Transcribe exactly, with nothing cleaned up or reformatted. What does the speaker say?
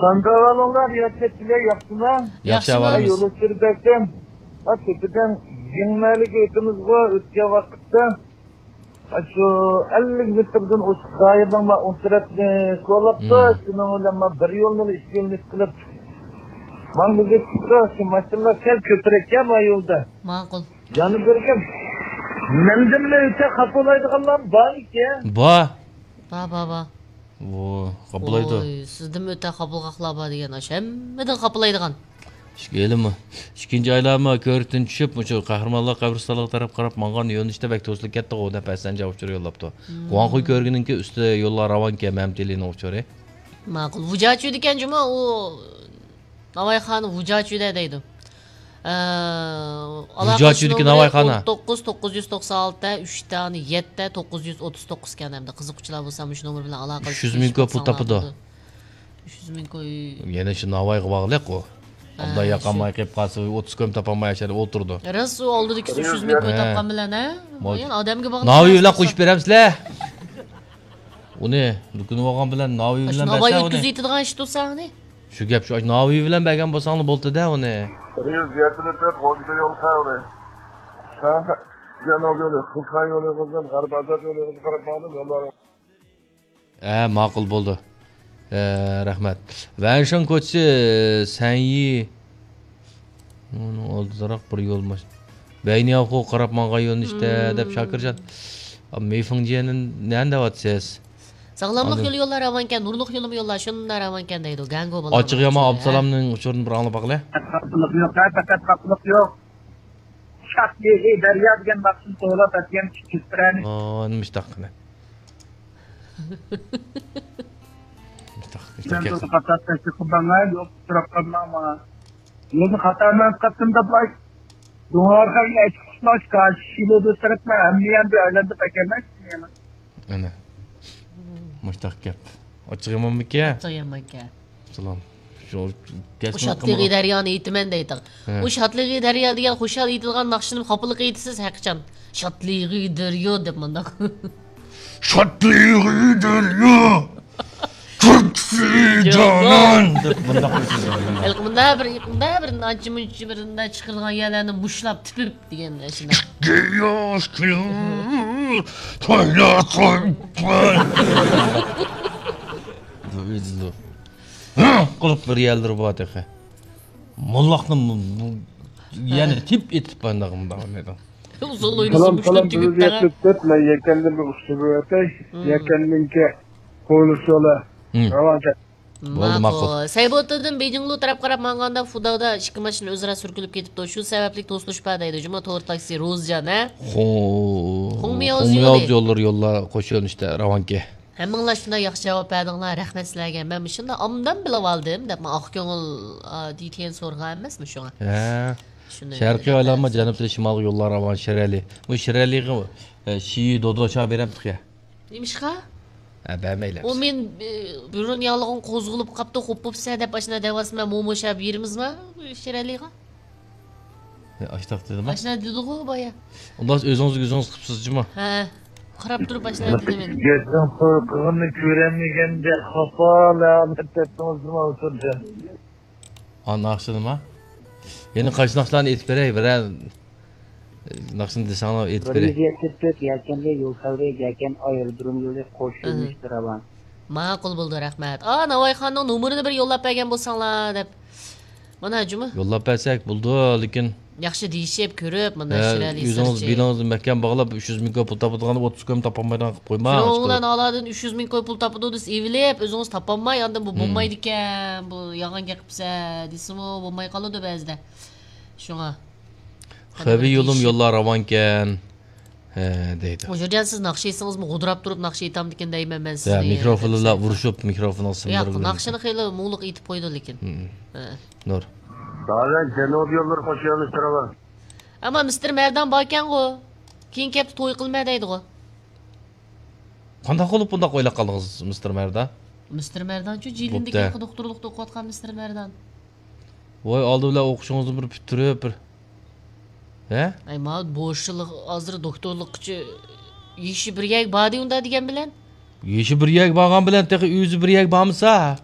قانداق ئەھۋالىڭلار، ياخشى، سىلەر ياخشىما؟ ياخشى ياخشىمۇ؟ ئەھۋالىمىز. يول ئۆتكۈزۈپ بەرسەم، ھە، تۆپىدىن يېڭىمەلىگە ئۆتىمىزغۇ، ئۆتكەن ۋاقىتتا، ھە، شۇ ئەللىك مېتىردىن ئوشۇق دائىرىنىڭ مانا ئوڭ تەرەپنى كولاپتۇ. مم. شۇنىڭ بىلەن مانا بىر يولنى ئىككى يولنى قىلىپ، ماڭغۇزۇپ چىقتى. شۇ ماشىنىلار سەل كۆپرەككەن ما يولدا. ماقۇل. جانىم بەرگەن. مەندىنمۇ ئۆتە خاپا بولايدىغانلار بار ئىكەن. بار. بار، بار، بار. ۋو، خاپىلايدۇ. ۋوي، سىزدىنمۇ ئۆتە خاپىلىقاقلار بار دېگەن، ئاشۇ ھەممىدىن خاپىلايدىغان. ئىككى-، ھېلىمۇ ئىككىنچى ئايلارمۇ كۆۋرۈكتىن چۈشۈپ، مۇشۇ قەھرىمانلار قەبرىستانلىقى تەرەپ قاراپ ماڭغان يۆنىلىشتە بەك توسۇلۇپ كەتتىغۇ دەپ ھەسەنجان ئۇچۇر يوللاپتۇ. مم. گۇاڭخۇي كۆۋرۈكىنىڭكى ئۈستى يوللار راۋانكەن، مەمتىلىنىڭ ئۇچۇرى. ماقۇل. ۋۇجاچۈ دېگەن جۇمۇ ئۇ. ناۋايخانا ۋۇجاچۈدە دەيدۇ. ئە، ۋۇجاچۈدىكى ئالاقىسى نومۇرى ناۋايخانا. ئون توققۇز، توققۇز يۈز توقسان ئالتە، ئۈچ دانە يەتتە، توققۇز يۈز ئوتتۇز توققۇز ئىكەن ھەمدە. قىزىققۇچىلار بولسا مۇشۇ نومۇر بىلەن ئالاقىلىشىپ ئۈچ يۈز مىڭ كوي پۇل تاپىدۇ. ئۈچ يۈز مىڭ كوي. يەنە شۇ ناۋايغا باغلىق ئۇ. ھە، ئابلا شۇ. ياقالماي قېلىپ قالسا، ئوتتۇز كوي تاپالماي ئاشۇ يەردە ئولتۇرىدۇ. راست، ئۇ ئالدىدىكىسى ئۈچ يۈز مىڭ كوي ھە. تاپقان بىلەن، ھە؟ مول. يەنە ئادەمگە باغلىق. ناۋاي بىلەن قوشۇپ بېرەمسىلەر؟ ئۇنى دۇكىنى بولغان بىلەن ناۋاي بىلەن بەرسە ئۇنى. ئاشۇ ناۋاي يۈز يېتىدىغان ئىش تۇرسا ئۇنى. شۇ گەپ شۇ، ناۋىي بىلەن بەرگەن بولساڭلار بولدى-دە ئۇنى. يۈز يەتمىش تۆت غوجىدا يول خەۋىرى. ھە، جەنۇب يولى، خۇشان يولى قىزدىن غەرب ئازاد يولى قىزىغا قاراپ ماڭدىم، يوللار. ھە، ماقۇل بولدى. ھە، رەھمەت. ۋەنشېن كوچىسى، سەنيى. ئۇنىڭ ئالدىدىراق بىر يول ماش-، بەينىياۋخۇ قاراپ ماڭغان يۆنىلىشتە، مم. دەپ شاكىرجان. مېيفېڭجيەننى نەدە دەۋاتىسىز؟ ساغلاملىق ئاندىن يولى يوللار راۋانكەن، نۇرلۇق يولمۇ يوللار شۇنداق راۋانكەن دەيدۇ. گەڭگو بالىلار ئاچچىق يامان ئۇچۇرى، ھە؟ ئابدۇسالامنىڭ ئۇچۇرىنى بىر ئاڭلاپ باقىلى. پەقەت خاپىلىق يوق، پەقەت خاپىلىق يوق. شاھلىغى دەريا دېگەن ناخشىنى توۋلاپ ئەتىگەن چۈشتۈرەنى. ئو، نېمە ئىشتاق قىلە؟ مۇشتاق، مۇشتاق مەن گەپ. بۇ خاتا تەكلىپ قىلماڭلار، يوق، سوراپ قالماڭ ماڭا. يولنى خاتا مەن قىلدىم دەپ، دۇڭارغا ئەچىق قۇشلاش كاشىلىدۇ سىرتما ھەممە يەردە ئايلاندى بەكەرمەن. ئەنە. مۇشتاق گەپ. ئاچچىق يامانمىكەن؟ ئاچچىق يامانكەن. سالام. شۇ، ئۇ شاتلىقى دەريانى ئېيتىمەن دەيتىڭ. ھە. ئۇ شاتلىقى دەريا دېگەن خۇشال ئېيتىدىغان ناخشىنى خاپىلىق ئېيتىسىز ھەقىچان. شاتلىقى دەريا دەپ مۇنداق. شاتلىقى دەريا، كۈلكىسى جانان دەپ مۇنداق ئېيتىدۇ. ھېلىقى مۇنداق بىر، مۇنداق بىر نانچە-مۇنچە بىر مۇنداق چىقىرىلغان يەرلەرنى مۇشلاپ تېپىپ دېگەن ئاشۇنداق. قىلىپ بىر يەرلىرى بار تېخى. موللاقنى بۇ، بۇ، يەنە تىپ ئېتىپ مانداق مۇنداق ئوينايدۇ. ئۇزۇن ئوينىسا سالام، مۇشۇلار سالام، تۈگۈپ بېرىپ بېقىڭ. كەتتۇق. مەن يەكەندىن بىر ئۇسسۇل بېرىۋېتەي. مم. يەكەندىنكى قويلۇشى ئۇلار. مم. راۋان كەت. بولدى، ماقۇل. ماقۇل. سەيبۇتتىن بېيجىڭلۇ تەرەپ قاراپ ماڭغاندا فۇداۋدا ئىككى ماشىنا ئۆزئارا سۈركىلىپ كېتىپتۇ. شۇ سەۋەبلىك توسۇلۇش بار دەيدۇ. جۇمۇ تور تاكسى روزجان، ھە؟ خو-، خۇڭمياۋ خۇڭمياۋ يولى. يوللىرى يوللار قوش يۆنىلىشتە راۋانكى. ھەممىڭلار شۇنداق ياخشى جاۋاب بەردىڭلار، رەھمەت سىلەرگە. مەن مۇشۇنداق ئابدان بىلىۋالدىم دەپ، مەن ئاق كۆڭۈل، ئا، دېتيەن سورىغان ئەمەسمۇ شۇڭا. ھە. شۇنى شەرقىي ئايلانما جەنۇبتىن شىمالغا يوللار راۋان شىرئەلى. بۇ شىرئەلىغا، ئە، شىيى دودوچا بېرەمتىق يا. نېمىشقا؟ ھە، بەرمەيلى. ئۇ مېنى، ئە، بۇرۇن ياللىغىن قوزغىلىپ قاپتۇ، خوپ بوپسە دەپ ئاشۇنداق دەۋاتسا، مەن موموشا بېرىمىزما شىرئەلىغا؟ ئاشتاق دېدىما؟ ئاشۇنداق دېدىغۇ بايا. ئۇنداق ئۆزىڭىز ئۆزىڭىز قىپسىز جۇما. ھە. قاراپ تۇرۇپ ئاشۇنداق دېدىم مەن. گەپنىڭ قورقۇغىنى كۆرەلمىگەندە خاپا ھالەتتە تۇرۇڭىز جۇما ئوتۇرجان. ئا، ناخشا نېمە؟ يەنە قايسى ناخشىلارنى ئېيتىپ بېرەي؟ بىرەر ناخشىنى دېسەڭلار ئېيتىپ بېرەي. بىر يۈز يەتمىش تۆت يەكەندە يول خەۋىرى، يەكەن ئايرودروم يولى قوش يۆنىلىشتە راۋان. ماقۇل بولدى، رەھمەت. ئا، ناۋايخاننىڭ نومۇرىنى بىر يوللاپ بەرگەن بولساڭلار دەپ. مانا جۇمۇ. يوللاپ بەرسەك بولىدۇ، لېكىن ياخشى دېيىشىپ، كۆرۈپ، مانا ھە، شىرئەلى ئۆزىڭىز سىرچى. بېلىڭىزنى مەھكەم باغلاپ، ئۈچ يۈز مىڭ كوي پۇل تاپىدىغان ئوتتۇز كويمۇ تاپالمايدىغان قىلىپ قويما. شۇنىڭ بىلەن ئالادىن ئۈچ يۈز مىڭ كوي پۇل تاپىدۇ دېسە ئېۋىلىپ، ئۆزىڭىز تاپالماي، ئاندىن بۇ مم. بولمايدىكەن، بۇ يالغان گەپ قىپسە دېسىمۇ بولماي قالىدۇ بەزىدە. شۇڭا. خەۋە يولۇم يوللار راۋانكەن. ھە، دەيدۇ. ئۇجۇرجان، سىز ناخشا ئېيتسىڭىزمۇ غودراپ تۇرۇپ ناخشا ئېيتامدىكىن دەيمەن مەن سىزنى. يا، مىكروفونلار ئۇرۇشۇپ، مىكروفونغا ياق، سىڭدۈرۈپ. ناخشىنى خېلى مۇڭلۇق ئېيتىپ قويىدۇ لېكىن. مم. ھە. نۇر. دادە، جەنۇبىي يوللار قوشۇۋېلىشتۇرىمەن. ئەمما مىستېر مەردان باركەنغۇ. كېيىنكى ھەپتە توي قىلىمەن دەيدىغۇ. قانداق بولۇپ بۇنداق ئويلاپ قالدىڭىز، مىستېر مەردان؟ مىستېر مەردانچۇ، جىلىندىكى بوپتۇ. دوختۇرلۇقتا ئوقۇۋاتقان مىستېر مەردان. ۋاي، ئالدى بىلەن ئوقۇشىڭىزنى بىر پۈتتۈرۈپ، بىر، ھە؟ ئەي، ماۋۇ بوشلۇق ھازىر دوختۇرلۇققىچە يېشى بىر يەرگە باردى ئۇندا دېگەن بىلەن. يېشى بىر يەرگە بارغان بىلەن تېخى ئۆزى بىر يەرگە بارمىسا.